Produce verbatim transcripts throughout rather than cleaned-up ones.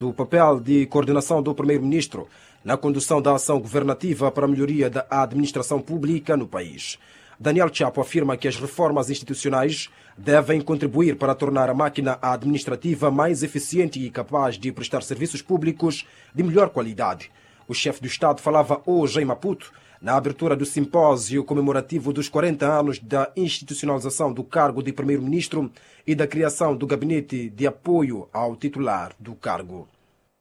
O papel de coordenação do primeiro-ministro na condução da ação governativa para a melhoria da administração pública no país. Daniel Chapo afirma que as reformas institucionais devem contribuir para tornar a máquina administrativa mais eficiente e capaz de prestar serviços públicos de melhor qualidade. O chefe do Estado falava hoje em Maputo na abertura do simpósio comemorativo dos quarenta anos da institucionalização do cargo de primeiro-ministro e da criação do gabinete de apoio ao titular do cargo.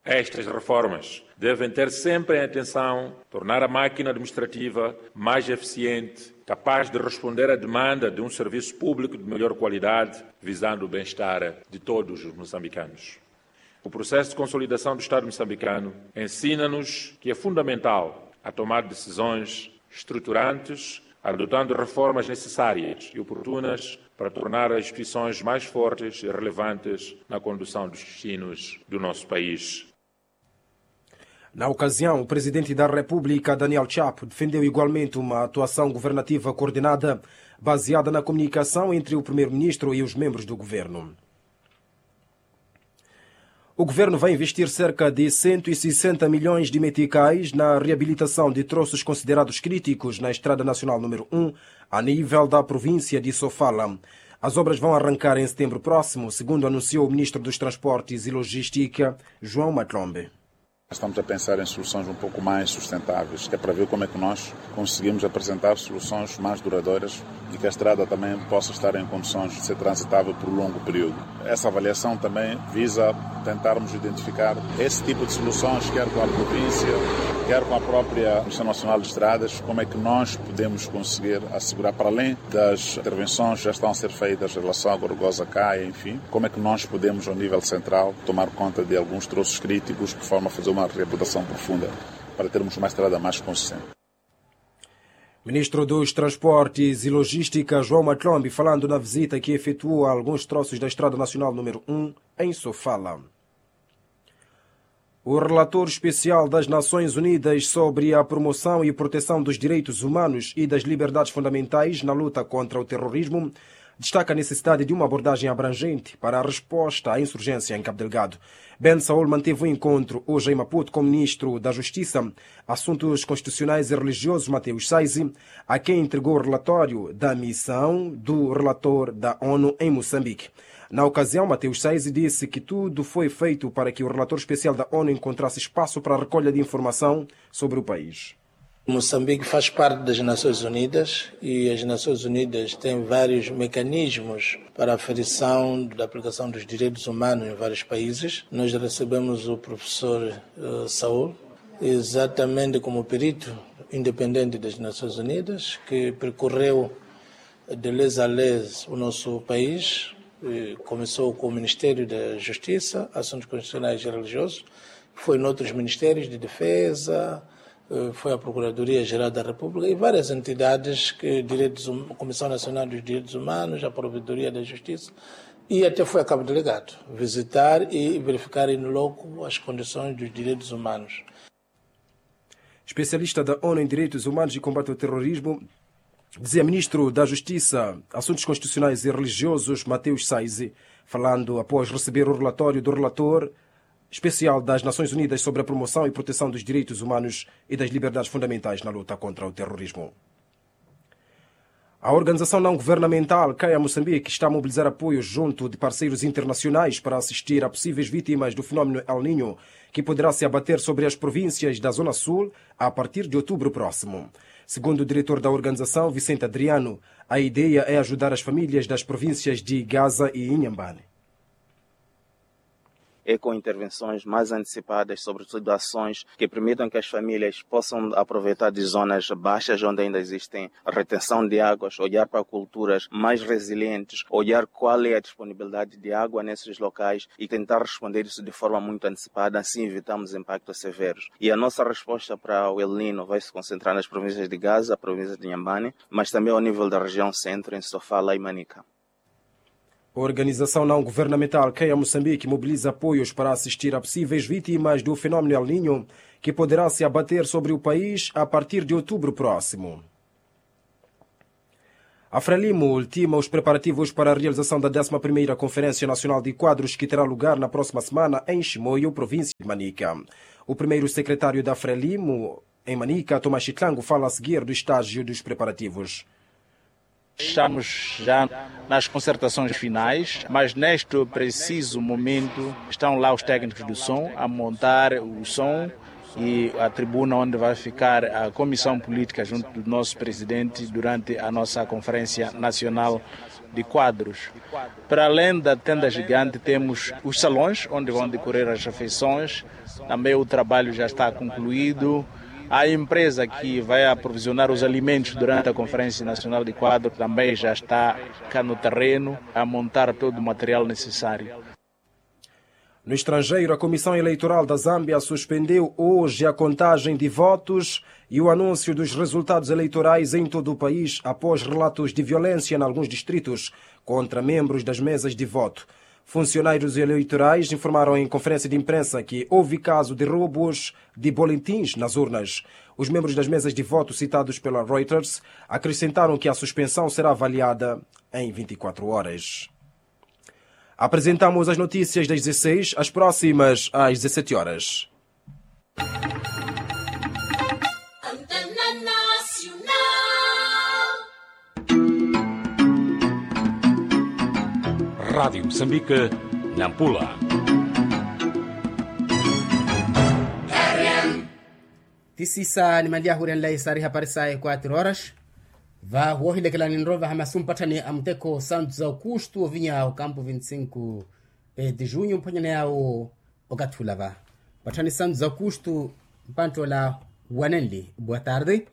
Estas reformas devem ter sempre em atenção tornar a máquina administrativa mais eficiente, capaz de responder à demanda de um serviço público de melhor qualidade, visando o bem-estar de todos os moçambicanos. O processo de consolidação do Estado moçambicano ensina-nos que é fundamental a tomar decisões estruturantes, adotando reformas necessárias e oportunas para tornar as instituições mais fortes e relevantes na condução dos destinos do nosso país. Na ocasião, o presidente da República, Daniel Chapo, defendeu igualmente uma atuação governativa coordenada, baseada na comunicação entre o primeiro-ministro e os membros do governo. O governo vai investir cerca de cento e sessenta milhões de meticais na reabilitação de troços considerados críticos na Estrada Nacional número um, a nível da província de Sofala. As obras vão arrancar em setembro próximo, segundo anunciou o ministro dos Transportes e Logística, João Matlombe. Estamos a pensar em soluções um pouco mais sustentáveis, que é para ver como é que nós conseguimos apresentar soluções mais duradouras e que a estrada também possa estar em condições de ser transitável por um longo período. Essa avaliação também visa tentarmos identificar esse tipo de soluções, quer com a província, quer com a própria Comissão Nacional de Estradas, como é que nós podemos conseguir assegurar, para além das intervenções que já estão a ser feitas em relação à Gorgosa Caia, enfim, como é que nós podemos, ao nível central, tomar conta de alguns troços críticos, de forma a fazer uma reabilitação profunda, para termos uma estrada mais consistente. Ministro dos Transportes e Logística, João Matlombe, falando na visita que efetuou a alguns troços da Estrada Nacional número um, em Sofala. O relator especial das Nações Unidas sobre a promoção e proteção dos direitos humanos e das liberdades fundamentais na luta contra o terrorismo destaca a necessidade de uma abordagem abrangente para a resposta à insurgência em Cabo Delgado. Ben Saul manteve o encontro hoje em Maputo com o ministro da Justiça, Assuntos Constitucionais e Religiosos, Mateus Saizi, a quem entregou o relatório da missão do relator da ONU em Moçambique. Na ocasião, Mateus Saizi disse que tudo foi feito para que o relator especial da ONU encontrasse espaço para a recolha de informação sobre o país. Moçambique faz parte das Nações Unidas e as Nações Unidas têm vários mecanismos para a aferição da aplicação dos direitos humanos em vários países. Nós recebemos o professor, eh, Saul, exatamente como perito independente das Nações Unidas, que percorreu de les a les o nosso país. Eh, começou com o Ministério da Justiça, Assuntos Constitucionais e Religiosos, foi noutros ministérios de defesa, eh, foi à Procuradoria-Geral da República e várias entidades, que direitos hum-, Comissão Nacional dos Direitos Humanos, a Provedoria da Justiça, e até foi a Cabo Delgado visitar e verificar in loco as condições dos direitos humanos. Especialista da ONU em Direitos Humanos e Combate ao Terrorismo, dizia ministro da Justiça, Assuntos Constitucionais e Religiosos, Mateus Saizi, falando após receber o relatório do relator especial das Nações Unidas sobre a promoção e proteção dos direitos humanos e das liberdades fundamentais na luta contra o terrorismo. A organização não governamental Caia Moçambique está a mobilizar apoio junto de parceiros internacionais para assistir a possíveis vítimas do fenômeno El Niño, que poderá se abater sobre as províncias da Zona Sul a partir de outubro próximo. Segundo o diretor da organização, Vicente Adriano, a ideia é ajudar as famílias das províncias de Gaza e Inhambane. É com intervenções mais antecipadas, sobretudo ações que permitam que as famílias possam aproveitar de zonas baixas onde ainda existem retenção de águas, olhar para culturas mais resilientes, olhar qual é a disponibilidade de água nesses locais e tentar responder isso de forma muito antecipada, assim evitamos impactos severos. E a nossa resposta para o El Niño vai se concentrar nas províncias de Gaza, província de Inhambane, mas também ao nível da região centro, em Sofala e Manica. Organização não governamental Caia Moçambique mobiliza apoios para assistir a possíveis vítimas do fenômeno El Niño, que poderá se abater sobre o país a partir de outubro próximo. Afrelimo ultima os preparativos para a realização da décima primeira conferência nacional de quadros que terá lugar na próxima semana em Chimoio, província de Manica. O primeiro secretário da Afrelimo em Manica, Tomás Chitlango, fala a seguir do estágio dos preparativos. Estamos já nas concertações finais, mas neste preciso momento estão lá os técnicos do som a montar o som e a tribuna onde vai ficar a comissão política junto do nosso presidente durante a nossa conferência nacional de quadros. Para além da tenda gigante, temos os salões onde vão decorrer as refeições. Também o trabalho já está concluído. A empresa que vai aprovisionar os alimentos durante a Conferência Nacional de Quadro também já está cá no terreno a montar todo o material necessário. No estrangeiro, a Comissão Eleitoral da Zâmbia suspendeu hoje a contagem de votos e o anúncio dos resultados eleitorais em todo o país, após relatos de violência em alguns distritos contra membros das mesas de voto. Funcionários eleitorais informaram em conferência de imprensa que houve caso de roubos de boletins nas urnas. Os membros das mesas de voto citados pela Reuters acrescentaram que a suspensão será avaliada em vinte e quatro horas. Apresentamos as notícias das dezesseis, as próximas às dezessete horas. Rádio Moçambique, Nampula. Tisisa ni manliya ahuryanlayi sari hapari sayi quatro horas. Va woohilekela ninrowa vahamasu mpatthani a muteko santu za aukustu ovinya okampu vinti sinku de junho mphwanyana yawo. Okathi ula va mpatthani santu za aukustu. Mpanttoola wanenli boa tarde.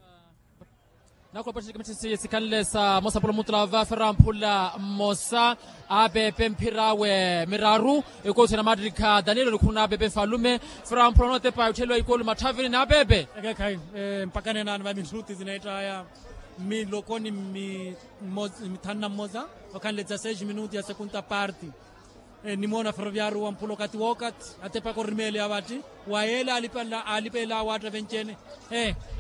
Nakhula pattisi sikhanle sa mosa pula mutula va fera mphula mmosa. Apepe mphira awe miraru. Ekoosi na mattikha daniel onikhuna apepe nfalume. Fera mphula onootepa yottheliwa ikolu matthavini na apepe. Ekekhayi mpakha nenaani va minuti zineettaya miloko ni mithanu na mmosa. Okhanle dza seis minuti ya sekunta parti. Nimoona ferroviario wa mphula okathi wookathi atepaka orimeeleya vatti. Wa yeela alipeela awaatta venci-ene.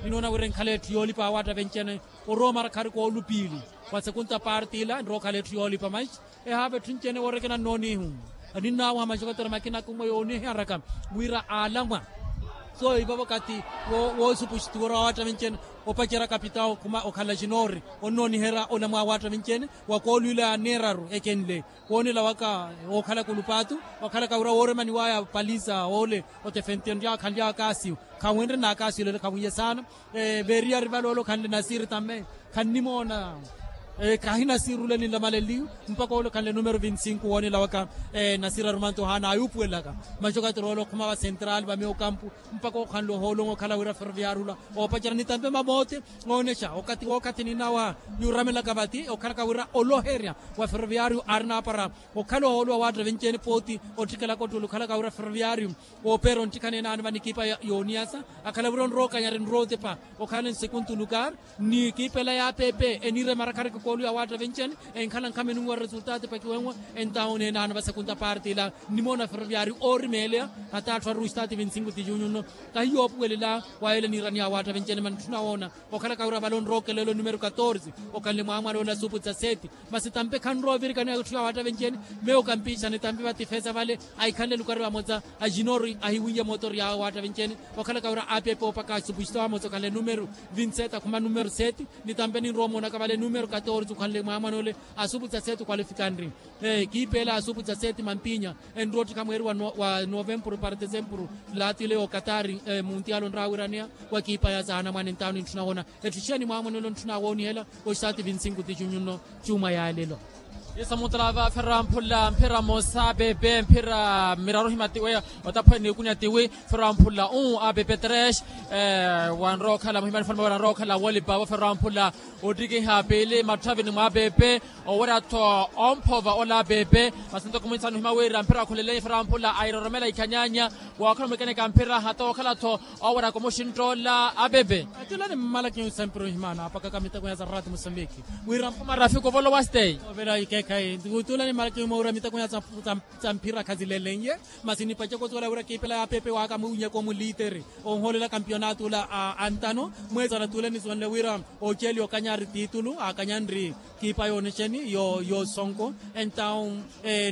Ninoona wira enkhala etthu yoolipa awaatta venci-ene. Orowa marakhari koolupiili wa sekunta parti ila nrowa okhala etthu yoolipa manxi. Ehaava etthu nci-ene woorekena nnoonihu. Ninnawaha maxokotera makina kumwe yooniharaka wira aalamwa. So ivavo okathi woosupuxitiwa orowa awaatta venci-ene. Opacerya kapitawo khuma okhala xinoori onnooniherya olamwa awaatta venci-ene. Wa koolwiila neeraru ekenle woonela waka wookhalaka olupaatu. Wakhalaka wira wooremaniwaya paliza woole otefentenrya khanlyaka kaasiyo. Khawenre na kaasiyo lelo khawiiye saana. Veeriyari vale ole okhanle nasiri tamme khannimoona. Khahinasiri ole ninlamaleliyo mpakha ole okhanle numero vinti sinku woonela waka. Nasiri arumanto ohaana ayuupuwelaka maxokatero ole okhuma va central va meyo okampu mpakha okhanle ohoolonga okhala wira ferroviario ula oopacerya nitampe mamoote. Oonexa okathi wookathi ninawa. Niuramelaka vati okhalaka wira oloherya wa ferroviario aari naapara okhala ohooluwa waatta venci-ene pooti. Ottikelaka ottuli okhalaka wira ferroviario woopeera onttikha nenaani va nikiipa yooniyasa akhala wira onrowa okanyari nrowa otepa. Okhala nsekuntu lukar nikiipa ela ya apepe eniire marakhareke kooluwa waatta venci-ene. Enkhala nkhaminunwa resulta atepakiwenwa entawo nenaani va sekunta parti ila. Nimoona ferroviario oorimeeleya hata atthu aruwa estati vinti sinku ti junho nno. Kahiyoopuwelela wa yeela niiraniya awaatta venci-ene mani ntthuna woona. Okhalaka wira vale onrowa okelela onumero katorze okhanle mwaamwala ole asupu dza seti. Masi tampe khanrowa ovirikaniwa etthu ya waatta venci-ene. Meyo kampixa nitampe vatifesa vale ahikhanle lukari vamoza ajinori ahiwiiye motori ya waatta venci-ene. Okhalaka wira apepe opaka asupuxita vamoza okhanle numero vinti seti akhuma numero seti. Nitampe ninrowa omoonaka vale numero katorze okhanle mwaamwana ole asupu dza seti okhwalifikanri. Ekiipa ela ya asupu dza seti mampinya enrowa ottikha mweeri wa novempuru para desempuru. Laati ile y'okatari muntiyaali onrawiraneya wa ekiipa ya saana mwaani ntawo nintthuna woona. Etthu xiya ni mwaamwenelo ntthuna woonihela. Oxitaati vinti sinku ti junho nno. Cuuma yaalelo. Isa mutalava fera mphula mphira mosa pepe mphira miraru himatiwe. Otaphwene nikunya tiwi fera mphula u apepe tres. Wanrowa okhala muhimani fana mawera anrowa okhala woolipavo fera mphula ottikiha piili matthavini mwa apepe. Owerya-tho omphova ola apepe masi ntoko mwintsanu hima wira mphira akhuleleye fera mphula airoromela ikhanyanya. Wookhala mwikeneka mphira hata wookhala-tho owerya komuxinttoola apepe. Atila ni mmalaki nsempuru himana apakaka miteko ya zarati musambiki wira mphuma rafiki ovolowa stay. Ekhayi ntukutuula ni marakimu moowira miteko ya tsa mphira khazilelenye. Masi nipaceke osuwela wira kiipela ya pepe waka muwinyaka omuliiteri onhoolela kampiyonatu ula a antano mweesana tuule nisuwenle wira oceeli okanyari titulu akanyanri kiipa yoonexeni yoosonko. Entawu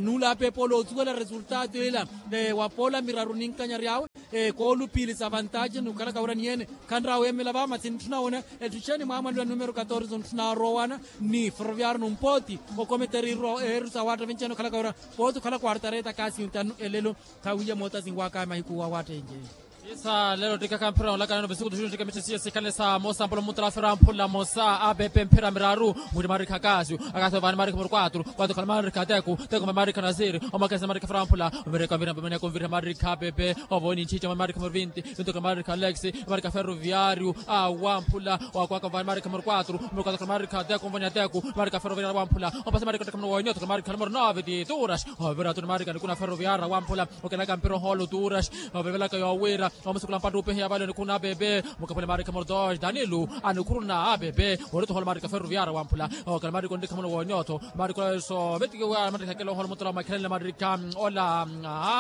nuula apeepa ola osuwela resultatu ila wapoola miraru ninkanyari awe koolupiili sa vantace nukhalaka wira niyeene khanraaweemela vaamasi ntthuna wona. Ettuxeeni mwaamwalelo numero katorze ntthuna arowana ni ferroviario numpooti okometeriirwa eeru sa waatta venceene okhalaka wira pooti okhala quartareta kasi ntanu elelo. Khawiiya mootasinwaka mahiku wa waatta enceene. Isa lelo ttikaka mpira olakana novesiku tuxuxu ttika mitthisiya sikhale sa mosa mpula mutala fera mphula mosa apepe mphira miraru. Mwiri marikha akasio akasio vaani marikha muru kwatru kwatru khala marikha teku teku marikha nasiri omakesa marikha fera mphula. Omireka omireka omireka omireka marikha apepe ovoni ntthitthi marikha muru vinti vinti khala marikha alex marikha ferroviario awamphula. Wakwaka vaani marikha muru kwatru muru kwatru khala marikha teku mvoni ateku marikha ferroviario awamphula. Ompasa marikha otteka muru wonyoto khala marikha muru nove tituras. Ovira tuni marikha nikuna ferroviario awamphula. Okelaka mpira ohoolo turas ovevelaka yowira omusukula mpattu upehiya vale nikuna bebe. Mukaphule marikha muru dos danilu anikhuruna abebe. Orito ohoolo marikha ferroviario awamphula. Okela marikha onrikha muru wonyoto marikha ola eso vetikiwa marikha kela ohoolo mutala omakhelanile marikha ola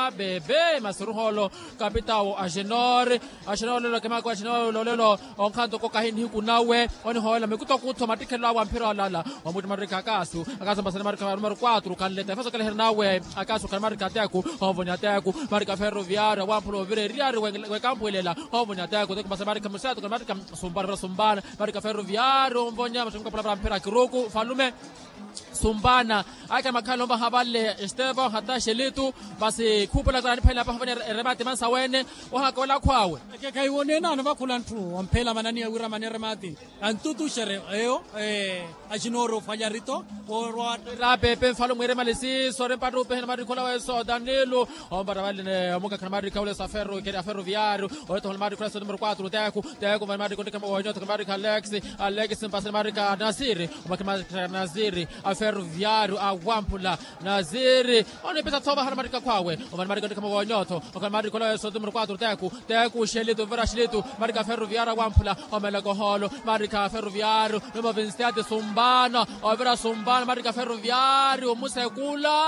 abebe masi oruhoolo kapitawo agenor. Axina olelo kemaka axina olelo onkhanto ko kahi nihiku nawe onihoolela mikutokutho mattikhelelo awe a mphira olala. Omutti marikha akasu akasu mpasani marikha numero kwatru khanleta efeso keleherya nawe. Akasu khani marikha ateku onvoni ateku marikha ferroviario awamphula ovira eriyari wekampwilela onvoni ateku teku mpasa marikha museto khani marikha sumpana vira sumpana marikha ferroviario onvonya mattumi kaphula vira mphira kiruku falume. Sumpana ake makhala ovaha vale estevo hata xelitu. Masi khupela kora aniphalela paha vene eremati mansa wene. Ohaka wela akhwawe. Ekekhayi woneene anovakhula ntthu omphela mananiya wira maneremati antutuxere eyo. Axinoori ofwalya rito orwa. Ra pepe mfalo mwiremale siiso ori mpattu upehena marikhola weso danilo. Ompata vale omukakhana marikha ule sa ferro ikeri a ferroviario. Oretohola marikhola sa numero quatro teku teku vale marikho onrikha mowonyoto kha marikha alex alex mpasani marikha nasiri. Omakhe marikha nasiri a ferroviario awamphula nasiri. Onipisa thova hana marikha khwawe. Omani marikha onrikha mowonyoto okhala marikha ula weso numero quatro teku teku xelitu ovira xelitu marikha ferroviario awamphula. Omeleka ohoolo marikha ferroviario numero vinti sete sumbana ovira sumbana marikha ferroviario omusekula.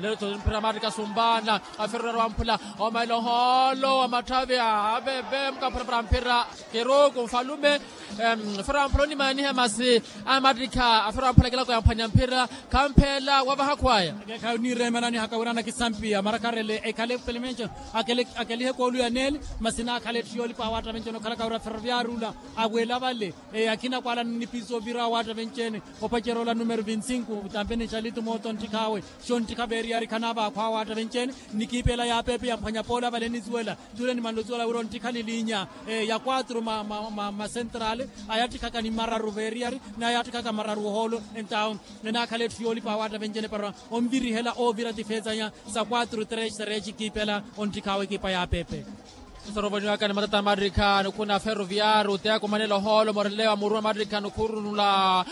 Lelo tho mphira marikha sumbana a ferroviario awamphula. Omaila ohoolo wa matthavi a abebe mukaphurapura mphira kiruku mfalume. Ferroviario amphula onimaniha masi a mattikha a ferroviario amphula kilako yamphwanya mphira. Khamphela wavaha khwaya. Ekekhayi onireemananihaka wira anakisampiya marakharele ekhale pelemenco akelihe koolu ya neeli. Masi naakhala etthu yoolipa awaatta venceene okhalaka wira ferroviario ula awela vale. Akina kwala nnipiso ovira awaatta venceene opacerya ola numero vinti sinku tampe nixalitu mooto nttikhaawe. Xo nttikha veeriyari khanavaakho awaatta venceene. Nnikiipela yaapeepe yamphwanya poola vale nisuwela tule nimanle osuwela wira onttikha ni linya ya quatro ma central. Ayattikhaka ni mararu veeriyari ni ayattikhaka mararu ohoolo. Entawo enaakhala etthu yoolipa awaatta venceene para onvirihela oovira tifeesanya sa quatro tres tres kiipela. Onttikha awe ekipa yaapeepe. Soruvoniwaka ni matata marikha nikhuna ferroviario teku manela ohoolo morelewa muru wa marikha nikhurunula.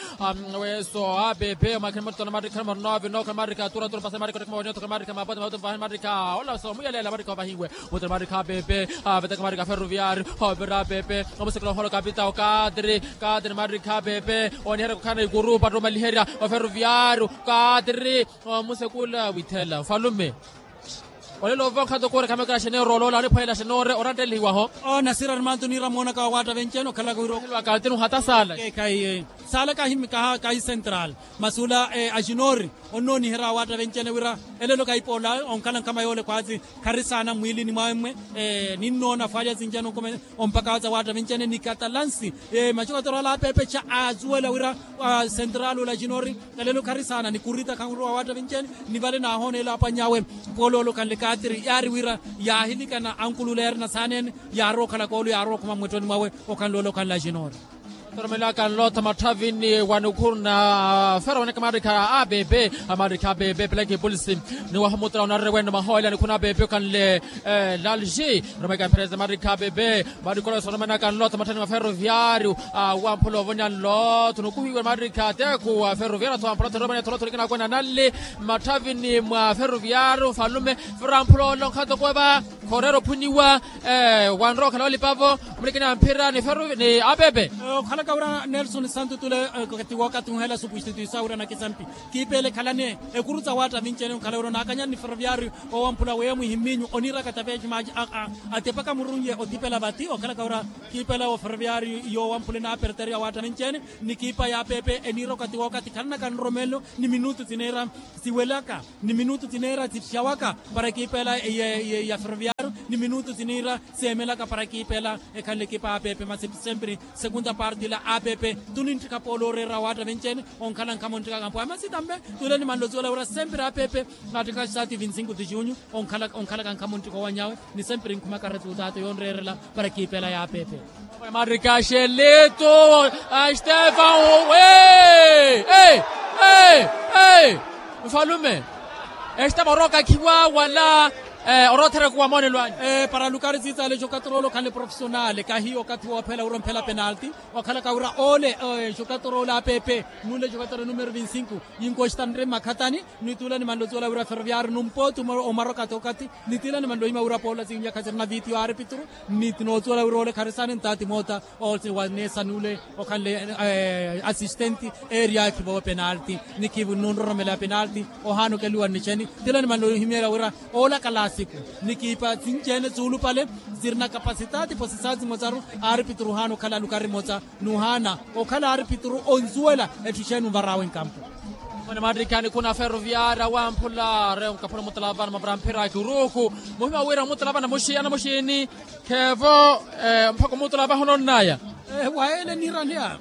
Weso apepe omakhini muttola marikha numero nove nokhala marikha tura tura pasa marikha otekha mawonyoto khala marikha mapote mapote mvahani marikha ola so muyelela marikha ovahiwe. Muttola marikha apepe avetaka marikha ferroviario. Ovira apepe omusekela ohoolo kapita okatiri katiri marikha apepe oniherya kukhana ikuru patta omaliherya oferroviario. Katiri omusekula withela falume. Olelo ova onkhanto koorekha mekela xeneero oloola oniphwelela xenoore orantelihiwaho. Nasira ni mantu niira moonaka wa waatta venceene okhalaka wira okhaliwaka ntinu hata saala. Saala kahi central masi ula axinoori onnooniherya wa waatta venceene wira elelo kahipola onkhala nkhama yoole khwaasi khari saana mmwiilini mwawe mmwe. Ninnoona fwalya sinci anonkome ompaka watsa waatta venceene ni katalansi. Macukatorala apeepexa aasuwela wira central ula axinoori elelo khari saana ni kurita khanruwa waatta venceene. Ni vale naahooneela apwany'awe pooloolo khanle katiri yaari wira yaahilikana ankulula yaari nasaaneene. Yaarowa okhala koolo yaarowa okhuma mmwettoni mwawe okhanloola okhanla axinoori. Toromelaka nlootha matthavini wa nikhuru na fero waneke marikha a bebe. Amarikha a bebe peleke polisi ni waho mutara onarire wene mahoyela nikhuru na bebe okhanle lalji. Romeka mpereza marikha a bebe marikhola sonomenaka nlootha matthavini wa ferroviario. Wamphula ovonya nlootha nukuhiwe marikha teku wa ferroviario atho wamphula theromene tholotholo ikinakwena nalli matthavini mwa ferroviario falume. Fero amphula olo nkhato kweva. Khooreera ophuniwa. Wanrowa okhala olipavo, omulekeni a mphira ni feru ni apepe. Okhalaka wira nelson santu tule, kati wookathi uhela supustituisa wira nakisampi kiipeele ekhalani ekuru tsa waatta vinci-ene okhala wira onaakanyani ni feroviario owamphula weya mwihiminyu oniiraka tapeji maaci. Atepaka murunye othipela vati okhalaka wira kiipela wa feroviario yowamphula enaaperteria waatta vinci-ene ni kiipa ya pepe eniira okati wookathi khalanaka nromelelo ni minutu tiniira siwelaka ni minutu tiniira sitthiyawaka para ekiipa ela ya feroviario ni minutu tiniira seemelaka para ekiipa ela ekhanle ekiipa ya pepe masi sempre. Segunda parte ila a pepe tunintthikha polo oreera waatta vinci-ene onkhala nkhamu ntthikaka mpwaha masi tambe tule ni manloziwela wira sempre a pepe naatthikha sati vinti-sinku ti junyu onkhalaka nkhamu ntthikha owanyawe ni sempre nkhumaka resultato yonreerela para ekiipa ela ya pepe. Maarikha xelito. Stefan. Mfalume. Estava orooka khiwa wala oroothereku wa moonelo anyu? Para lukari siitsaale jokatorolo khale profesionale kahiyo okathi woophela wira omphela penalti. Okhalaka wira ole jokatorolo a pepe nule jokatorolo numero vinti-sinku yinkostanre mmakhatani. Nitula nimanlo tsuwela wira feroviario numpooti omarokati okathi nitila nimanlo hima wira poola sinyakha sirina vitiyo a arpitru. Ni tinoosuwela wira ole kharisaani ntaati moota owaneesa nule okhanle assistenti eeriya khivowe penalti. Ni khivu nunroromela ya penalti ohaana okeliwa nnicheni tila nimanlo himyela wira ola kalasiku ni kiipa sinci-ene suulupale sirina kapasitaati posisaati mosaru. Arpitru ohaana okhala lukari mosa nuhaana okhala arpitru onsuwela etthu exeeni onvar'awe nkampu. Mone maattikhaani khuna feroviaria wamphula reyo nkaphula omutala vana mapara mphira a kiruku muhima wira omutala vana muxi anamuxini kheevo mpakha omutala vaha ononnaya. Waele niiraniya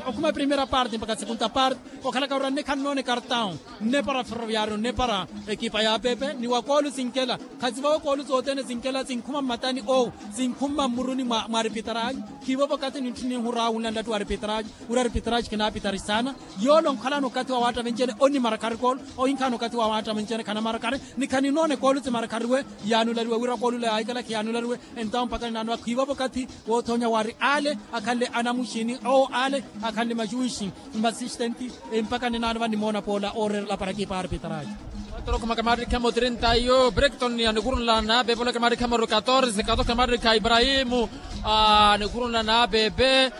okhuma primeira parte mpakha segunda parte okhalaka wira nne khannoone kartawu nne para feroviario nne para ekipa ya pepe ni wa koolu sinkela. Khasivowe koolu sothene sinkela sinkhuma mmatani owu sinkhuma mmuruni mwa arpitraji. Khiivovo okathi nintthi ninhura wunla nlattu wa arpitraji wira arpitraji khinaapitari saana. Yoole onkhalana okathi wa waatta vinci-ene onnimarakari koolu ohinkhaana okathi wa waatta vinci-ene khanamarakari ni khaninoona ekoolu simarakariwe yaanulariwe wira koolu ila yaahikela khiyaanulariwe. Entawo mpakha ninaanowa khiivovo okathi woothonya wari ale akhanle anamuxini owo ale akhanle maxuxi mmasistenti. Mpakha ninaanowa nimoona poola ooreerela para ekipa arpitraji. Otorokhumaka maarikha mutrinta iyo brekton anikurunla na pepe olaka maarikha moru katorse katokha maarikha ibrahimu anikurunla na pepe.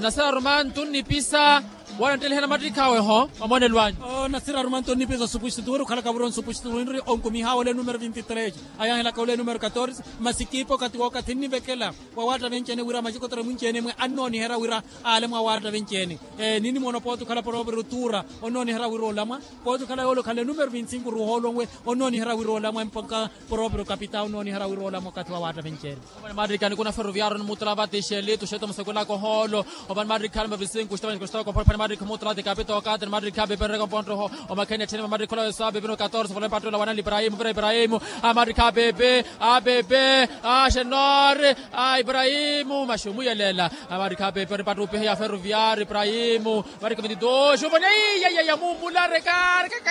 Nasira rumantu nnipisa wanattelihana mattikhawe ho omonelo anyu? Nasira rumantu nnipisa osupustituru okhalaka wira onsupustituru winri onkumiha ole numero vinti-tres ayahelaka ole numero katorse. Masi kiipa okathi wookathi nnivekela wa waatta vinci-ene wira maxikotoro mwinci-ene mwe annooniherya wira ale mwa waatta vinci-ene. Ninimoona pooti okhala poropero tuura onnooniherya wira olamwa pooti okhala yoole okhanle numero vinti-sinku ruhoolonwe onnooniherya wira olamwa mpakha poropero kapita onnooniherya wira olamwa okathi wa waatta vinci-ene. Opani maarikha nikuna feroviario nimutula vati xelito xeto musekwelaka ohoolo. Opani maarikha numero vinti-sinku xitava nikostava komphora opani maarikha mutula vati kapita okathi ni maarikha pepe nreka mponttoho omakheni ettheni maarikha olaweso a pepe no katorse vale mpattula wanali ibrahimu vira ibrahimu. Amaarikha a pepe a pepe a xenore a ibrahimu maxumuyelela. Amaarikha a pepe onipatta opiheya feroviario ibrahimu. Maarikha vinti-dos opani iya iya iya muumula reka reka.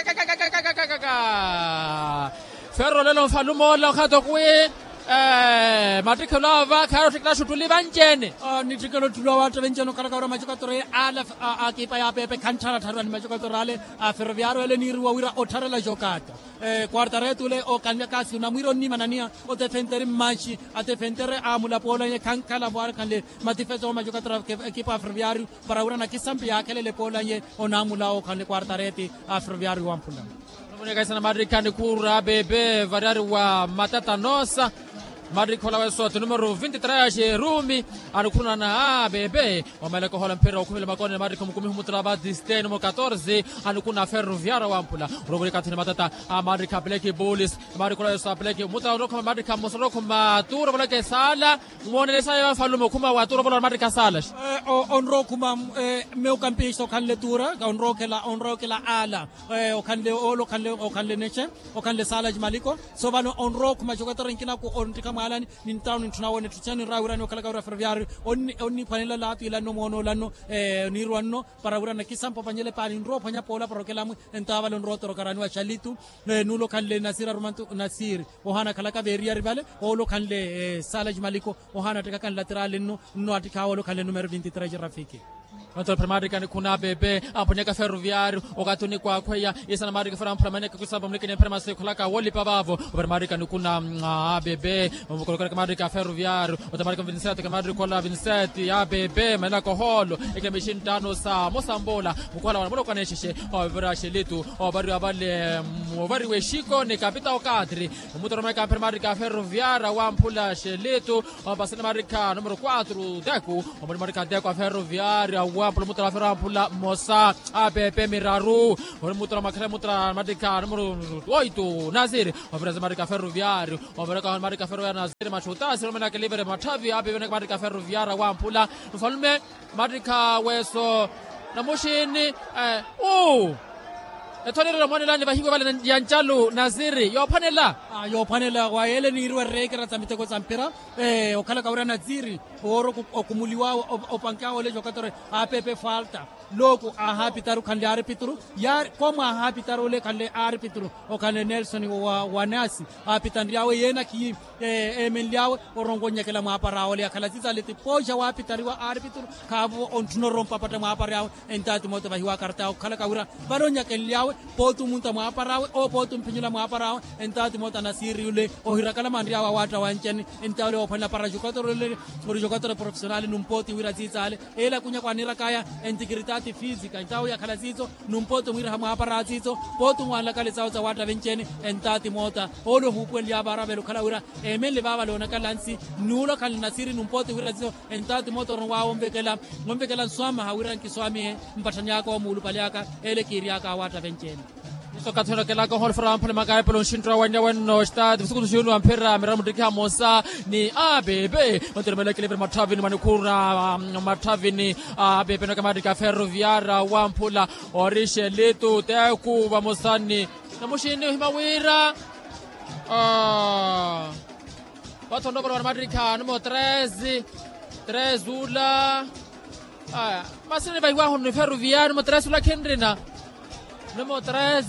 Ferro lelo nfalume ola okhato kwi mattikhelo ava khaari ottikhela xuttuli vanci-ene. Nittikhela ottuli wa waatta venci-ene okhalaka wira maxukatoreye ale a kipa ya pepe khantthala tthariwa ni maxukatoreye ale a feroviario ele niiriwa wira ottharela jokata. Kuartaretu ole okanlyaka asi onamwiira onnimananiya otefenteri mmaxi atefentere amulapoolanye khankhala vwari khanle matifeso maxukatoreye ekipa a feroviario para wira nakisampi yaakhelele poolanye onamulawo khanle kuartareti a feroviario wamphula. Onuvoneka isana maarikha nikhuura a pepe variyari wa matata noosa. Maarikha olaweso ti numero vinti-tres a xerumi anikhunana a pepe. Omeleka ohola mphira okhumile makoone maarikha mukumi humutula va disteni mu katorse. Anikhuna ferroviario wamphula oruvulika athini matata a maarikha a black bulls. Maarikha olaweso a black mutala onrokhuma maarikha mmosa onrokhuma tuura voleka esaala. Mmoonelesaya vafalume okhuma wa tuura ovola maarikha saala. Onrokhuma meio kampista okhanle tuura onrokhela onrokhela ala. Okhanle ole okhanle okhanle nexe okhanle sala cimaliko. So vano onrowa okhuma jokatora nkinaku onttikha mwaalani. Ninttawo nintthuna wona etthu cena ninraya wirani okhalaka wira ferroviario onniphwanela laatu ilanno moona olanno. Niirwa nno para wira nakisampa opanyele paani nrowa ophwanya poola para okelamwe. Entawo vale onrowa otorokarani wa xalitu. Nulo okhanle nasiri arumantu nasiri ohaana akhalaka veeriyari vale. Ole okhanle sala cimaliko ohaana attikaka nlatirali nno. Nno attikha ole okhanle numero vinti-tres cirafiki. Mantoro phira maarikani khuna a pepe amphonyaka ferroviario. Okathi onikwaakhweya isana maarika fera amphula maneka kwisamba mulikini mpira masi kholaka woolipa vaavo. Opira maarikani khuna a pepe okolokela maarika ferroviario. Ota maarika vinseti ka maarika ola vinseti a pepe manaka ohoolo. Ekemixi nttaano sa mosambola mukhola wana mulokanexexe. Ovira xelitu ovariwa vale ovariwa exiko ni kapita okatri. Omutoro maika mphira maarika ferroviario wamphula xelitu. Ompasani maarika numero quatro teku. Omuli maarika teku a ferroviario wamphula omutoro a ferroviario wamphula mmosa a pepe miraru. Omuli mutoro makhale mutoro maarika numero oito nasiri. Ovira maarika ferroviario. Oviraka maarika ferroviario nasiri maxutasi omenaka livere matthavi a pepe maarika ferroviario wamphula. Mfalume maarikha weeso namuxini. Uu ethonirira omoonelani vahiwe vale ya ncalu nasiri yoophwanela. Yoophwanela wa yeele niiriwa ereekera sa miteko sa mpira. Okhalaka wira nasiri woori okumuliwaawe opankiwaawe ole jokatori a pepe falta. Looku aahaapitaru khanle aaripituru. Yaari komo aahaapitaru ole khanle aaripituru. Okhanle nelson wa nasi aapitanryaawe yeena khiyi eemenlyaawe oronka onyakela mwaapara awe ole akhala sisaale tipooxa waapitariwa aaripituru. Khaavo ontthuna orompapatta mwaapara awe. Entaati moota vahiwa akarta awe okhalaka wira vale onyakenlyaawe pooti omunta mwaapara awe oo pooti omphinyula mwaapara awe. Entaati moota nasiiri yule ohirakala manryaawe awaatta wanceni. Entaati ole woophwanela para jokatori ole ori jokatori profesionali numpooti wira sisaale. Ele akunya kwanirakaya entikiritaati fisika entawo yakhala siiso. Numpooti omwiiraha mwaapara siiso pooti onwanlaka ale sawo sa waatta venci-ene. Entaati moota ole ohuupuweliya vaara vela okhala wira eemenle vaavale onakalansi. Nuula okhanle nasiri numpooti wira siiso. Entaati moota oronwaawe onvekela nswamaha wira nkiswamihe mpatthani aka omuulupale aka ele kiiryaka awaatta venci-ene. Iso okathi onakhelaka ohoolo fera amphula makaepelo nxinttwa wennewenno staati visukutu xiunu wa mphira miraru muttikiha mmosa ni a pepe. Onteremelekele vira matthavini mwanikhuura matthavini a pepe noka maarika ferroviaria wamphula ori xelitu teku vamosa ni namuxini ohima wira vathonovola wana maarikha numero tres tres ula. Aya masi nivahiwahu ni ferroviario numero tres ula khinrina. Numero tres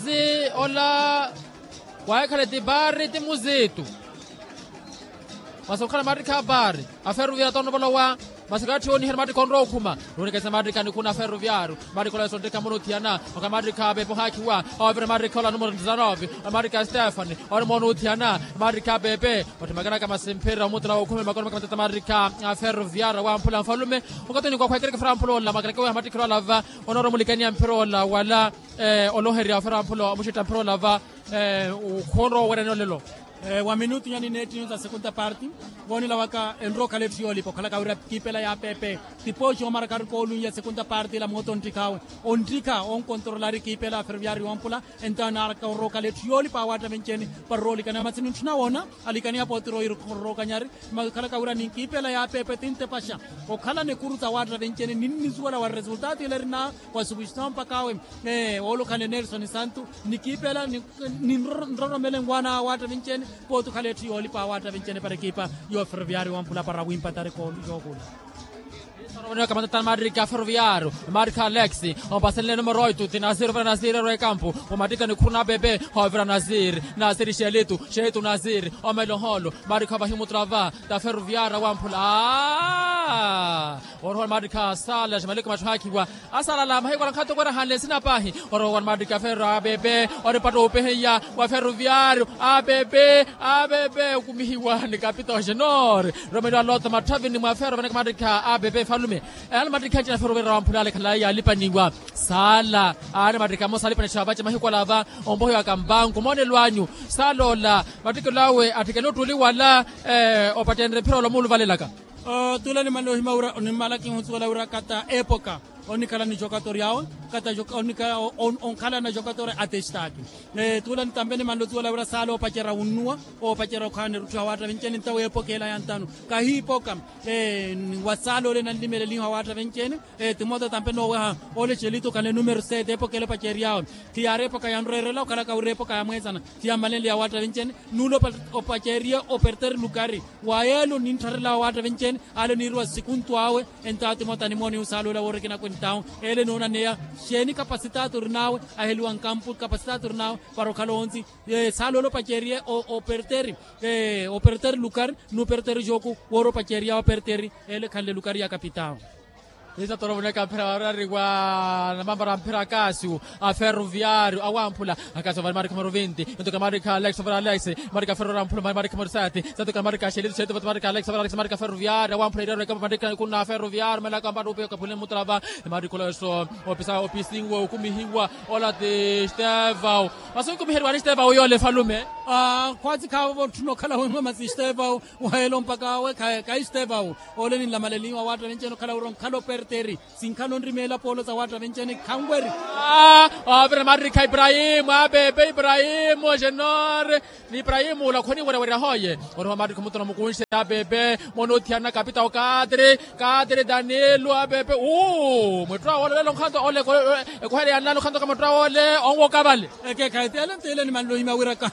ola wahikhale ti bari ti muzitu. Masi okhala maarikha a bari a ferroviario tonovolowa. Masi kaatthi ooniherya maarikha onrowa okhuma. Nuunikesa maarikha nikhuna a ferroviario. Maarikha ola yosontteka muno othiyana okhala maarikha a pepe ohaakhiwa. Ovira maarikha ola numero desanove maarikha stefani. Ori moona othiyana maarikha a pepe. Otthimakanaka masi mphira omutela wookhumela makono maka matata maarikha a ferroviario wamphula nfalume. Okathi onikwaakhwa ekerekefera amphula ola makalaka weha mattikhelo alava. Onoora omulikaniya mphira ola wala oloherya ofera amphula omuxitta mphira ola va. Okhonrowa owerani olelo. Wa minutu nyani neettiyo sa segunda parti. Voonela waka enrowa okhala etthu yoolipa okhalaka wira kiipela ya pepe. Tipooxi omaraka ari koolunya segunda parti ila moota onttikhawe. Onttikha onkontorola ari kiipela ya ferroviario yoompula. Entawo naaraka orowa okhala etthu yoolipa awaatta venci-ene. Para oroolikana masi nintthuna woona alikaniya pooti rowa irorokanyari. Makhalaka wira ni kiipela ya pepe tintepaxa okhala nekuru sa waatta venci-ene ninnisuwela wa resultato ile erinaawe. Wa sukuxitawo mpakha awe oolukhanle nelson santu ni kiipela ni nroromele nwaana awaatta vinci-ene. Pooti okhala etthu yoolipa awaatta vinci-ene para ekiipa yo ferroviario wampula para wimpatari koolu yookula. Oromonewaka matata maarikha ferroviario maarikha alex. Ompasenle numero oito ti nasiri ovira nasiri erwa ekampu. Omatikha nikhuru na pepe ovira nasiri nasiri xelitu xelitu nasiri omela ohoolo. Maarikha vahimutra va ta ferroviario wamphula. Orowa ni maattikha a sala ximaliku matthu aakhiwa. Asalala mahiku ala nkhato kwerahanle esina paahi. Orowa ni maattikha a ferro a pepe oripatta oopeheya wa ferroviario a pepe a pepe okumihiwa ni kapita oxenor. Romeliwa loto matthavini mwa ferro vanaka maattikha a pepe falume. Ela maattikha ncina ferro wamphula alekhala yaalipaniwa. Sala aari maattikha amosa alipanexa vace mahiku ala va. Ompohiwaka mpanku moonelo anyu sala ola. Mattikelo awe attikene ottuuli wala opacenre mphira ola omuuluvalelaka. Tuula nimanle ohima wira nimala kihusuwela wira kata epoka onikhala ni jokatori awe. Kata onkhala na jokatori atestaki. Tuula nitampe nimanle osuwela wira saala opacerya wunnuwa opacerya okhala nirutthiwa awaatta vinci-ene ntawo epoka ela yantano kahiipoka. Wa saala ole nanlimeleliha awaatta vinci-ene. Timoto tampe nooweha ole xelito okhanle numero sete epoka ele opaceryawe. Khiyaari epoka yanrweerela okhalaka wira epoka yamweesana. Khiyammalenle ya waatta vinci-ene nuula opacerya operteri lukari. Wa yeelo ninttharela awaatta vinci-ene ale niiriwa sikuntu awe. Entawo timoto animooniha osaala ole awoorikina kwentawo ele noonaneya. Xeeni kapasitato orinawe aheliwa nkampu kapasitato orinawe para okhala onsi. Saala ole opacerye operteri operteri lukari. Nuperteri joku woori opacerya operteri ele ekhanle lukari ya kapitawo. Esa toromoneka mphira warari wa namambara mphira akasiu a ferroviario awamphula. Akasiu vale marikha maruvinti. Ntoka marikha alex vale alex. Marikha ferroviario amphula marikha marisati. Satoka marikha shelitu shelitu vale marikha alex vale alex marikha ferroviario awamphula irero ekapa marikha kuna ferroviario malaka mbaru upe kapule mutrava. Marikha loso opisa opisinwa okumihiwa. Ola ti stevao. Masunkumiheriwani stevao yole falume. Khwatsi khavo votthuno khala wemwe masi stevao. Wahelo mpaka awe khaistevau. Ole ninlamaleliwa watta vencheni okhala wira onkhala operteri. Sinkhala onrimeela poolo sa watta vencheni khanweri. Ovira marikha iprahimu apepe iprahimu ojenor. Ni iprahimu ulakhoni werewerya hoye. Oriho marikha omutuna mukunxe apepe. Mwana othiyana kapita okatri. Katri danielu apepe uu mwettu awole olelo nkhanto ole. Ekuhele yanlala onkhanto ka mwettu awole onwoka vale. Ekekhayi tiyale ntiyile nimanle ohimya wira ka.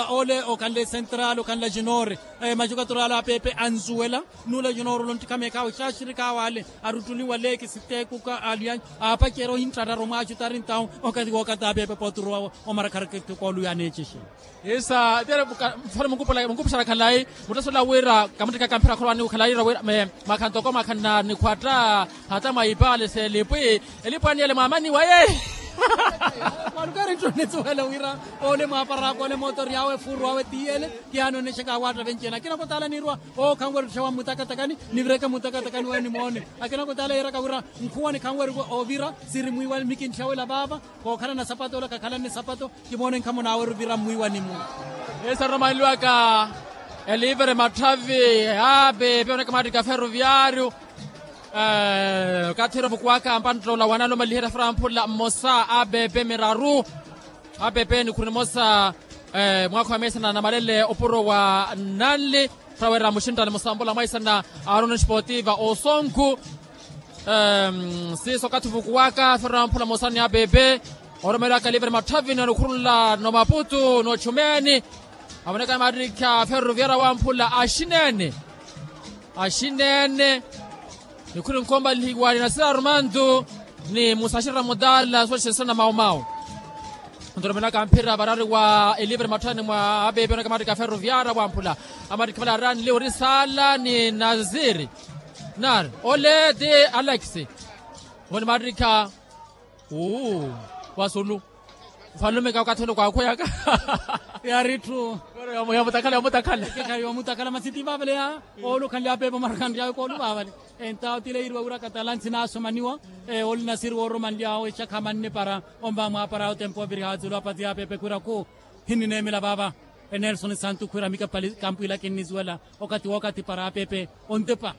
Ole okhanle central okhanle ajinori. Majukatura ala apepe anzuwela. Nula ajinori ole onttikhameekhawe xaxirikhawe ale. Aruttuliwa leeki siteekuka alianyu. Aapacerya ohinttararu omwaxutari ntawu. Okathi wookata apepe pooturu omarakharakha kooluya aneecexe. Isa tiyale mfano munkupuxala khalayi. Muttasula wira kamutteka kamphira kholowani khalayi wira. Mwakhanto ko mwakhana nikhwatta. Hata mwa ipaale s'elipwi. Elipwi aniyele mwaamani waye. Walukari ntthu nisuwela wira. Ole mwaaparaaka ole mootori awe efuuru awe tiyele. Kihaana onexaka awatta venci ene akina kutaala niirwa. Ookhanwerya ottixewa mmutakatakani. Nivireke mmutakatakani weyo nimoone. Akina kutaala yeeraka wira. Nkhuwa nikhanwerya ovira. Siri mwiiwa mikinttixewela vaava. Kookhalana sapato ola kakhalanne sapato. Kimoone nkhamu naawe ruvira mmwiiwanimu. Esa romanliwaka. Elivere matthavi. Apepe oneka mattikha ferroviario. Okathi ira ovukuwaka mpantta ola wanalumaliheriya framphula mmosa apepe miraru. Apepe nikhuru nimosa. Mwaakha wa meesa na namalele opuro wa nanli. Ttawera muxinttani musambola mwaisana. Aroni esportiva osonkhu. Siiso okathi ovukuwaka framphula mmosa ni apepe. Oromeriwaka livre matthavini onikhurunla nomaputu nochumeeni. Avoneka mattikha ferroviario awamphula axineene. Axineene. Nikhuri nkomalihiwa ni nasira armandu. Ni musaxira mutala soxesana maumau. Ntoromelaka mphira varari wa elivre matthani mwa apepe oneka mattikha ferroviario awamphula. Amattikha vale aranli ori sala ni nasiri. Nari ole ti alex. Voni mattikha. Uu. Vasulu. Mfalume ka okathi ole kwaakhweyaka. Yari etthu. Yomutakhala yomutakhala. Ekekhayi yomutakhala masi ti vaavale ya. Oolukhanle apepe omarukhanryawe kooluvaavale. Entawo tileiriwa wira katalansi naasomaniwa. Oli nasiri wooromanly'awe exakha manne para. Omva mwaapara otempu oviriha atsulu apati apepe khwira khu. Hinineemela vaava. Enelson santu khwira mika pali kampu ila kinnisuwela. Okathi wookathi para apepe. Ontepa.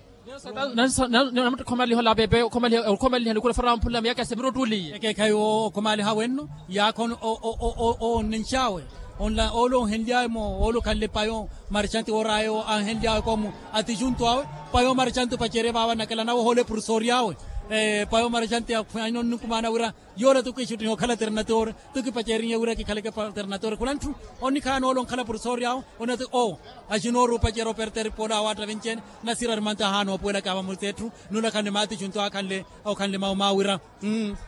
Namuttikha omaliha ola apepe okhomaliha nikhula fara wamphula miyaka ya semiro ottuuliye. Ekeekhayi okhomaliha wenno. Yaakha onnenx'awe. Ole onhenly'awe-mo ole okhanle payo. Marxanti woor'awe anhenly'awe koomu. Atixuntu awe. Payo marxanti opacerye vaava nakela nawe ohoole professory'awe. Payo marxanti akhwanyana onnukumaana wira. Yoole tukiixuttiha okhala ternator. Tukipacerinye wira kikhaleke ternator khula ntthu. Onikhaana ole onkhala professory'awe. Onati o. Axinoori opacerya operter poola awaatta venci-ene. Nasira arimanto ahaana oopuwelaka vamutsi etthu. Nulakhanle maati xuntu akhanle. Okhanle mauma wira.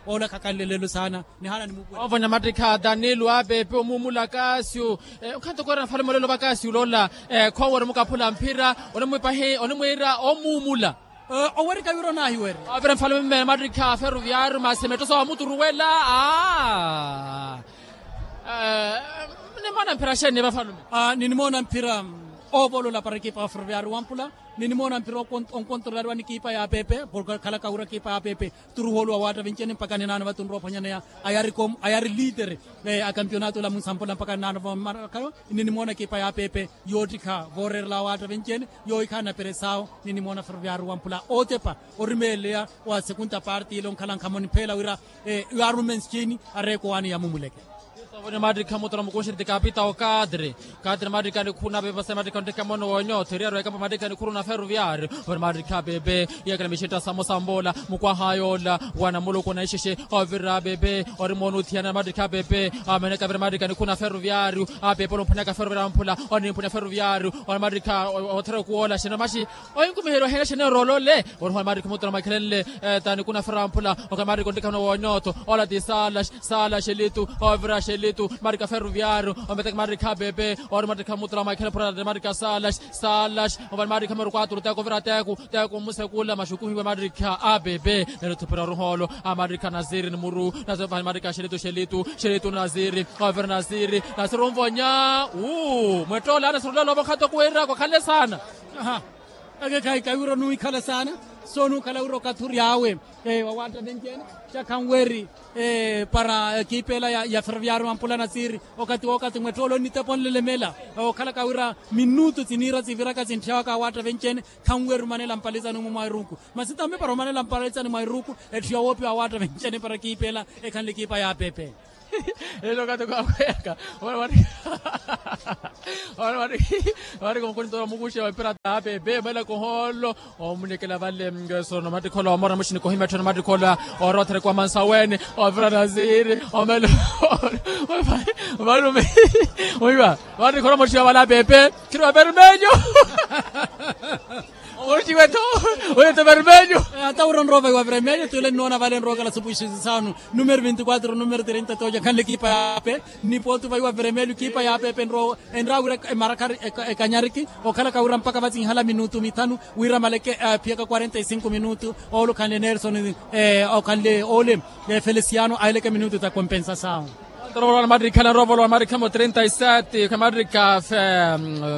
Ola khakhanle lelo saana. Nihaana nimupuwela. Ovona mattikha danilo apepe omuumula kasiu. Okhanto koora nfalume olelo va kasiu loola. Khoowerya omukaphula mphira. Onimwiira omuumula. Owerika wira onaahiwerya. Ovira nfalume mattikha ferroviario masi mettoso wamuturuwela. Aa. Nimoona mphira xeeni vafalume. Ninimoona mphira. Oovolola para ekipa ya ferroviario wampula. Ninimoona mphira onkontorolariwa ni ekipa ya apepe porke okhalaka wira ekipa ya apepe. Turuhooluwa waatta venci-ene mpaka ninaano vatunrwa ophwanyaneya. Ayari liitere. A kampionato ola munsampola mpaka ninaano vamarakhayo. Ninimoona ekipa ya apepe yoottikha voorerela waatta venci-ene. Yoohikhaana peresao. Ninimoona ferroviario wampula ootepa orimeeleya. Wa segunda parte ile onkhala nkhamoni pheela wira. Yaarumenscini areeko waani yamumuleke. Ovoni mattikha muttoro mukunxiri ti kapita okatri. Katri mattikha nikhuru na pepe masi mattikha onttikha mono wonyotho eriyari wekapa mattikha nikhuru na ferroviario. Ovoni mattikha pepe. Yeekela mixetta samosambola mukwaha yoola. Wana muluku na ixexe. Ovira pepe. Ori moona othiyana mattikha pepe. Ameneka vira mattikha nikhuru na ferroviario. Apepe olumphunaka ferroviario amphula. Onimphuna ferroviario. Ori mattikha. Othera okuwoola xeno maxi. Ohinkumiheriwa hene xene orolole. Ori hona mattikha muttoro mwakhelenle. Tani kuna fera amphula. Okhala mattikha onttikha mono wonyotho. Ola ti sala sala xelitu. Ovira xelitu. Xelitu, maarikha ferroviario, ometeke maarikha a pepe, ori maarikha mutula mwaikhala pura maarikha salas, salas, ovale maarikha meru kwatru teku ovira teku, teku omusekula maxukuhiwe maarikha a pepe. Nelo thupira oruhoolo a maarikha nasiri ni muru, nasiri ovale maarikha xelitu xelitu, xelitu nasiri, ovira nasiri, nasiri onvonya. Uu mwettoolana sirulela ovokhato kuwira kwakhanle saana. Aha. Eke khayi kawiira onuwikhala saana. Sonuwikhala wira okathi ori awe, wawaatta venci-ene, xakhanweri para ekipa ela ya ferroviario wampula nasiri. Okathi wookathi mwettoolo nnitepo nlelemela, okhalaka wira minutu tsiniira tsiviraka tsintthyawaka awaatta venci-ene. Khanweri omanela mpalizani mwa iruku. Masi tambi para omanela mpalizani mwa iruku, etthu yawoopiwa awaatta venci-ene para ekipa ela ekhanle ekipa ya pepe. Elo okathi kaakhweyaka, ori ori ori ori mukhunitoro mukuxe wa mpira ta pepe mwelaka ohoolo. Omunekela vale. Sono matikhola omora muxinikohimettheno matikhola, orothereka wa mansaweni, ovira nasiri, omelo valume. Oiva, matikhola moxiwa vale a pepe, khiri wa vermelho. Oxiwetho, oyeto vermelho. Ata wira onrowa vaiwa vermelho tule nnoona vale nrookala supuxisisano, numero vinti kwatro numero trenta toja khanle ekipa ya pepe. Nipotu vaiwa vermelho ekipa ya pepe enrowa, enrawira emarakari, ekanyariki, okhalaka wira mpaka vatsinhala minutu mithanu wira maleke. Phiyaka quarenta e cinco minutu, oolo okhanle nelson, okhanle ole, feliciano ahileke minutu ta kompensasawo. Ntoro volowa ni maarikha na rovolowa ni maarikha mo trenta e sete kha maarikha,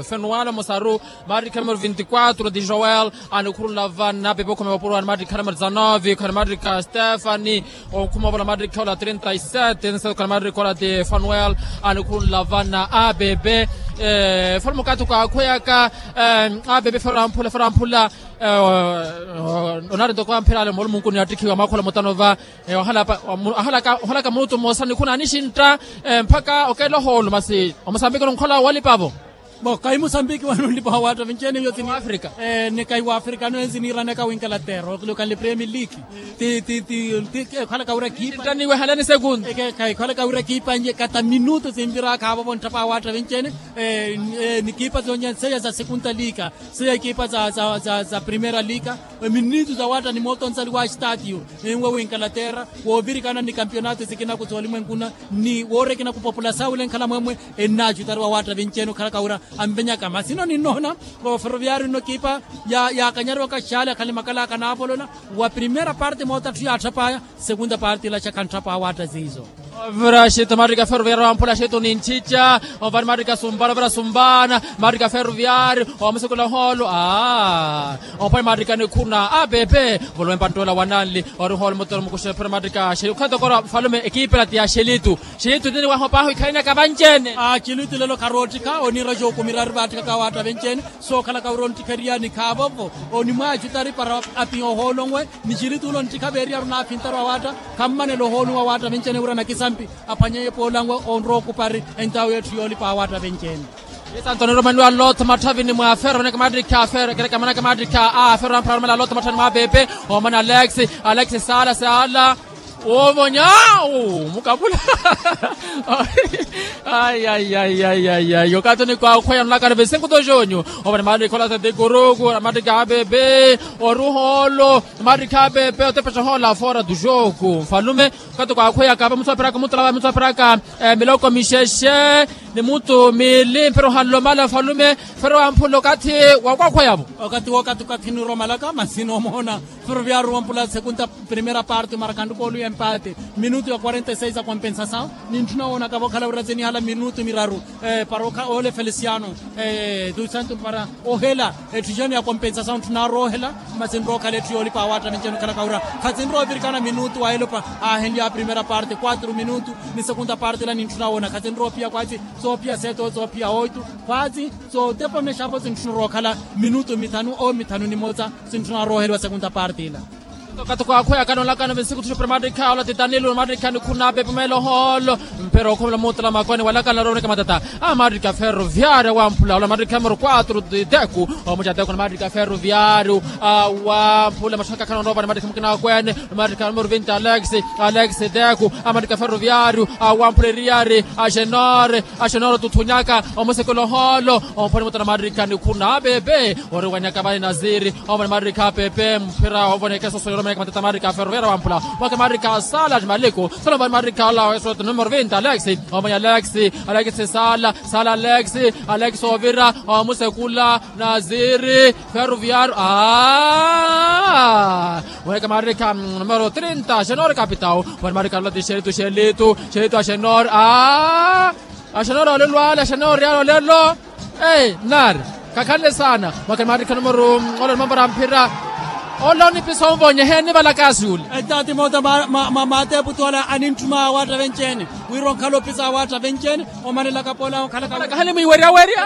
fenuwalo mosaru, maarikha numero vinti kwatro di joel, anikhurunla vana pepe okhome vapuro wa ni maarikha numero dezanove kha ni maarikha stefani. Onkhuma ovola maarikha ola trenta e sete nsete kha ni maarikha ola di fanuel, anikhurunla vana a pepe. Fala mukathi kwaakhweyaka a pepe fero amphula fero amphula. Onari ntoko amphirale moolumunkuni attikhiwa mwaakhola mutano va. Ohalaka munutu mmosa nikhuna anixintta, mpakha okeela ohoolo masi omusambiki onunkhola walipavo. Bo kahi musambiki wano nlipa wawaatta vinci-ene iyo tsini afrika. Ni kahi wa afrika ano enzi niiranaka winkalatera okhanle premier league. Ti ti ti ti ekhalaka wira ekipa ntaniwehalani sekunta. Ekhalaka wira ekipa nje kata minutu tsimviraka avo vonttapa wawaatta vinci-ene. Ni ekipa zonje nseya za sekunta liika, seya ekipa za primera liika. Minutu zawaatta ni mooto onsali wa estadio enwe winkalatera, woovirikana ni kampionato sikinaku soolimwenkuna ni woorekina kupopula saawile nkhala mwemwe. Ennaacutariwa waatta vinci-ene okhalaka wira anvenyaka masino ninnoona. Oferoviario nno ekipa yaakanyariwaka xaali akhale makala akanaavolola. Wa primera parte moota atthu yaatthapaya, segunda parte ilaxa khantthapa awaatta ziizo. Ovira xitu maarikha ferroviario wamphula xitu ninttitta. Ovani maarikha sumbana ovira sumbana, maarikha ferroviario omusekula ohoolo. Ompani maarikha nikhuna a pepe. Volume panttola wananli ori ohoolo mutoro mukuxephera maarikha xelitu khatokora falume ekipa ela ti ya xelitu. Xelitu tini wahopaho ikhalinaka vanci-ene. Xelitu lelo kharoottikha oniira xookumira ari vaattikaka awaatta venci-ene. Sookhalaka wira onttikheriyani khaavovo onimwaacutari para apiya ohoolonwe. Ni xilitu ula onttikha veeriyaru naafintaru awaatta. Khammanela ohoolonwe awaatta venci-ene wira nakisampi aphwanyeye poolanwe onrowa okupari. Entawo yeetthu yoolipa awaatta venci-ene. Santo aniromaniwa lot mathavini mwa fero amanaka maattikha a fero ekerekemanaka maattikha a fero amphara aromela lot mathavini mwa pepe. Omana alex, alex saala saala. Wovonya. Mukapula. Ayi ayi ayi ayi ayi okathi onikwakhweya nolakana vesinkuto xonyu. Ovani maarikha ola tete kuruku maarikha a pepe. Oruhoolo maarikha a pepe otepexa ohoola fora tu xooku nfalume. Okathi kwakhweyaka va muthu apiraka mutula va muthu apiraka miloko mixexe ni muthu mili mphira ohanlomala nfalume. Fero amphula okathi wa kwakhweyavo. Okathi wookathi okathi niromalaka masi noomoona. Ferroviario wampula segunda primera parte marcando golo ya empate. Minutu ya quarenta e seis a compensasaw. Nintthuna woonaka vookhala wira tsinihala minutu miraru para ole feliciano dusanto para ohela. Etthu jani ya compensasaw ntthuna aroohela. Masi nrookhala etthu yoolipa awaatta ninci enokhalaka wira khatsinrowa ovirikana minutu wa elopa. Aahenlya a primera parte quatro minutu ni segunda parte ela nintthuna woona khatsinrowa ophiya kwaatsi. Soophiya seto soophiya oito kwaatsi. Sootepa mexapo sintthuna rookhala minutu mithanu o mithanu ni motsa. Sintthuna arooheliwa segunda parte ila. Okathi kwaakhweyaka noolakana vinsiku thuxupira maattikha ola ti tanilu maattikha nikhuna pepe meela ohoolo. Mpira okhumela muutela makoni walakana rooneka matata. A maattikha ferroviario wamphula ola maattikha numero quatro teku. Omuca teku na maattikha ferroviario wamphula maxakakha noorova ni maattikha mukina akwene. Maattikha numero vinti alex, alex teku. A maattikha ferroviario wamphula eriyari a xenore. Axonoro tuthunyaka omusekula ohoolo. Omphoni mutana maattikha nikhuna a pepe. Oriwanyaka vani nasiri. Omphoni maattikha a pepe mphira ovoneke sosoyoro. Matata marika ferroviara wamphula mwaka marika sala maliku sala marika ola wesoto numero vinti alex. Omanya alex alex sala sala alex alex ovira omusekula naziri ferroviaro a mwaka marika numero trinta senor kapitao mwaka marika ola tixelitu xelitu xelitu a senor a a senor olelo ale a senor yalo lelo. Ei nari kakhanle saana. Mwakani maarikha numero ola onimambara mphira ola onipisa onvonye heeni valakasi ule. Etatimota maateeputu ala anintthuma awaatta venci-ene wira onkhala opisa awaatta venci-ene omanelaka poola onkhalaka kahani mwiiweryawerya.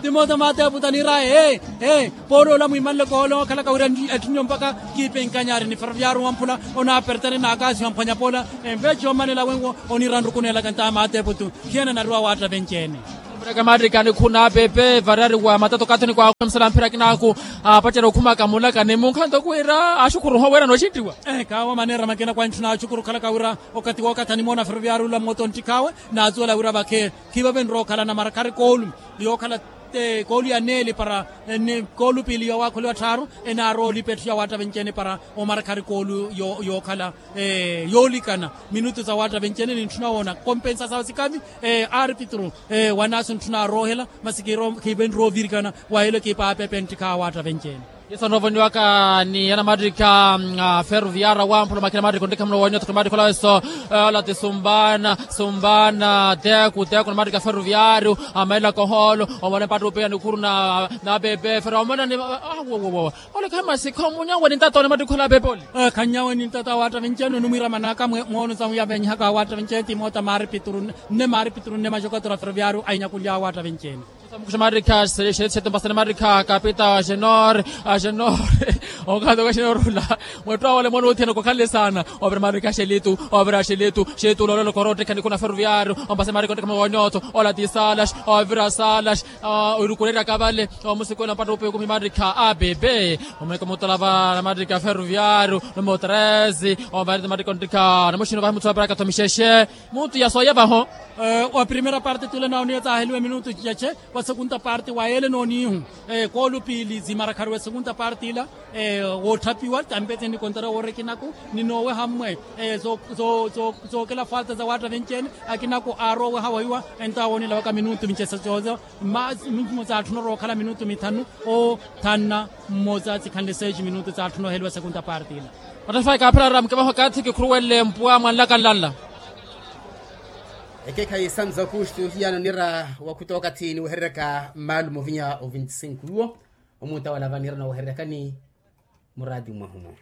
Timota maateeputu aniraye ee ee poola ola mwiimanleke ola onkhalaka wira atthunne mpakha kiipenkanyari ni ferroviaru wamphula onaapertani naakaasi wamphwanya poola. Enveeci omanela wenwo onira nrukunelaka ntaha maateeputu. Khiene anariwa awaatta venci-ene. Mureka maarikani khuna pepe varari wa matato kathoni kwaakhu msala mphira kinaaku apacerya okhumaka mulakani munkhanto khwira axukhuru ohowerana oxittiwa. Kaawo maneera makina kwantthuna axukhuru okhalaka wira okathi wookathi animoona ferroviaru ula mmoto nttikhaawe naazuwela wira vakhe khiivavenre okhalana mara khari koolu yookhala koolu ya neeli para ni koolu piili yoowakholiwa tthaaru enaarowa olipa etthu ya waatta venci-ene para omara khari koolu yookhala yoolikana minutu za waatta venci-ene nintthuna woona kompensa sawe sikavi. Arpitru wanaasu ntthuna aroohela masi khiivenre ovirikana wa elo ekipa ya pepe nttikha awaatta venci-ene. Yesu anoovoniwaka ni anamattikha ferroviaru awamphula makina mattikha onttikha muno wonyotho mattikha olaweso ola ti sumbana sumbana teku teku namattikha ferroviaru amailaka ohoolo omona mpatta upeya nikhuru na pepe ferro omona ni awowowo. Ole khayi masikha omunyawe nintata one mattikhu ala pepe ole. Khanyawe nintata awaatta venci-ene onimwiira manaka mwono samuya vennyihaka awaatta venci-ene timoota maaripituru nne maaripituru nne maxokotora ferroviaru ainyakulya awaatta venci-ene. Mukuxa maarikha xeetu xeetu mpasani maarikha kapita agenor agenor. Okato ka agenor ula mwettu awale mwana othiyana kokhanle saana. Ovira maarikha xelitu ovira xelitu xelitu ula olelo korotteka nikuna ferroviaru ompasani maarikha onttekha mwa wonyotho ola ti salas ovira salas. Orukureryaka vale omusikula mpatta upeya okumi maarikha a bebe. Omweka mutolava na maarikha ferroviaru numero treze. Ovaerete maarikha onttekha namuxino vahi muthu vaperaka thomixexe. Mutu ya sooya vaho. Wa primeira parte tule naoniya taaheliwe minutu cicace wa segunda parte wa yeele noonihu. Koolu piili zimarakharu wa segunda parte ila wootthapiwa tampete ni kontra wooreki naku ni nooweha mmwe. Zookela falta za waatta venci-ene akinaku aaroweha wahiwa. Entawo woonilavaka minutu mincesa cooza minutu mmoza atthuna orookhala minutu mithanu. Othanna mmoza sikhanle seis minutu za atthuna oheliwa segunda parte ila. Ottafai kaaphirara mukevaho kathi kikhuruwelle mpwa mwanlaka nlanla. Ekekhayi santos aukustu hiyano nira wakhuta okathi niwehereryaka mmaalumo ovinya o vinti-sinku iwo. Omuntawala vanira nawehereryakani muraati mwahumo.